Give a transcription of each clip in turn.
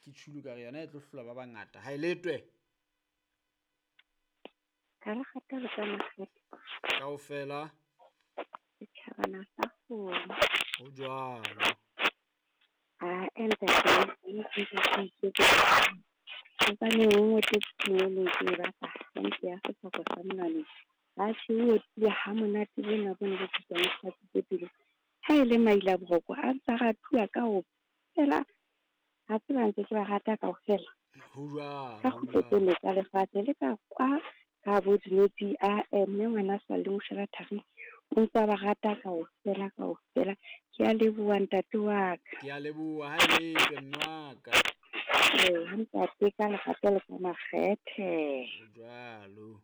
Ke tshulu ka re yona e tlo hlola ba bangata. Ha e letwe. Ka lekgata le ka makgethe. Kaofela. Setjhabana sa kgomo. Ho jwalo. Ae ntate, hobane o ngotletse mongolong ke e batla hantle ya sefako sa monwaneng. Atjhe e otlile ha monate bona bo ne bo tsitsang tse pele. Ha e le maila boroko a ntsa ratuwa kaofela. Ha tseba ntse ke ba rata kaofela. Ho jwalo. Ka kgutlo tsa lefatshe le ka kwa ka bo dinotshi a mme ngwana sa le moshela thari o ntsa ba rata kaofela kaofela. Ke a leboha ntate wa ka. Ke a leboha ha e letwe mme wa ka. Ntate ka lerato le ka makgethe. Ho jwalo.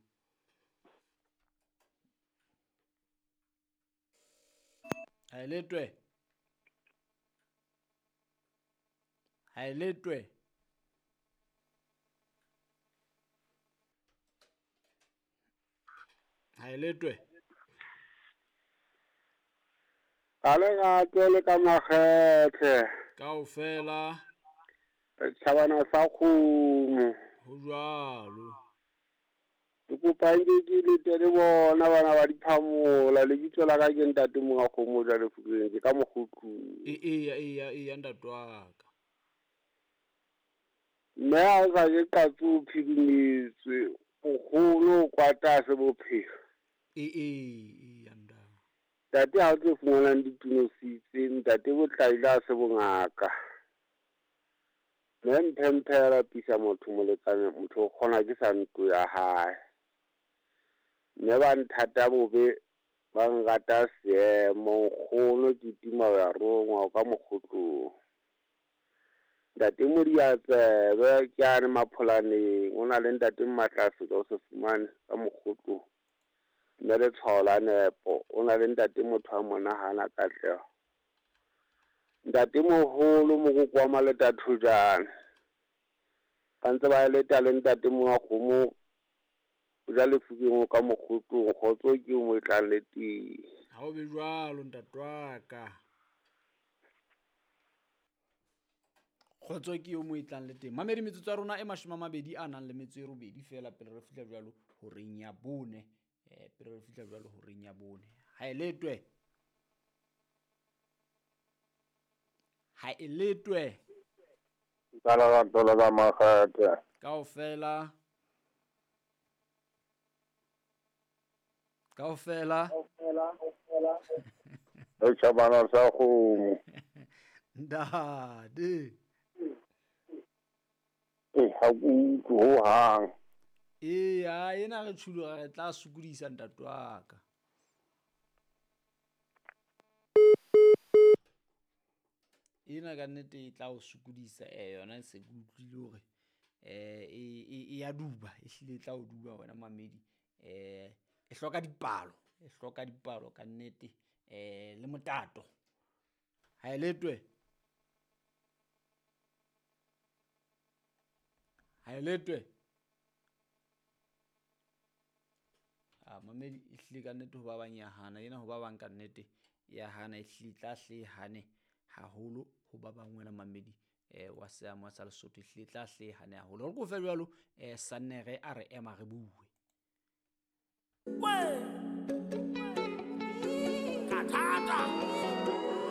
Ha e letwe. Ha e letwe. Ha e letwe. Ka lerato le ka makgethe. Kaofela. Setjhabana sa kgomo. Ho jwalo. Ke kopa nke ke lete le bona bana ba diphamola. Lebitso la ka ke ntate monga kgomo jwale Fukeng, ke ka Mokgotlong. Eya eya eya ntate wa ka. Mme ha o sa je qatsi o phirimetswe, nkgono o kwata se bophelo. Eya ntate. Ntate ha o tlo fumanang ditunositse, ntate botlaila ha se bongaka. Mme mphemphe ya lapisa motho molekane, motho o kgona ke sa ntlo ya hae. Mme ba nthata bobe, ba nrata seemo, nkgono ke tima ho ya rongwa ka Mokgotlong. Ntate Modiatsebe ke ane Mapholaneng, o na le ntate Mmatlafika o se fumane ka Mokgotlong. Mme letshwao la nepo, o na le ntate motho a monahana katleho. Ntate moholo mokoko wa Maleta Thojane. Ba ntse ba leta le ntate monga kgomo jwale Fukeng o ka Mokgotlong, kgotso ke mo e tlang le teng. Ha o be jwalo ntate wa ka. Kgotso ke yo mo e tlang le teng. Mamedi metsotso ya rona e 28 feela pele re fihla jwalo horeng ya bone. Pele re fihla jwalo horeng ya bone. Ha e letwe. Ha e letwe. Ka lerato le ka makgethe. Kaofela. Kaofela. Setjhabana sa kgomo. Ntate. Ha ke utlwe hohang. Eya, ena re tshuluga re tla sokodisa ntate wa ka. Ena ka nnete e tla o sokodisa yona se ke utlwile hore e ya duba, e hlile e tla o duba wena mamedi. E hloka dipalo, e hloka dipalo ka nnete le motato. Ha e letwe. Ha e letwe. A mamedi e hlile ka nnete ho ba bang ya hana, ena ho ba bang ka nnete ya hana, e hlile tla hle hane haholo ho ba bang wena mamedi wa seamo sa Lesotho, e hlile tla hle hane haholo. Re kofe jwalo Sannere a re ema re bue. Kathata.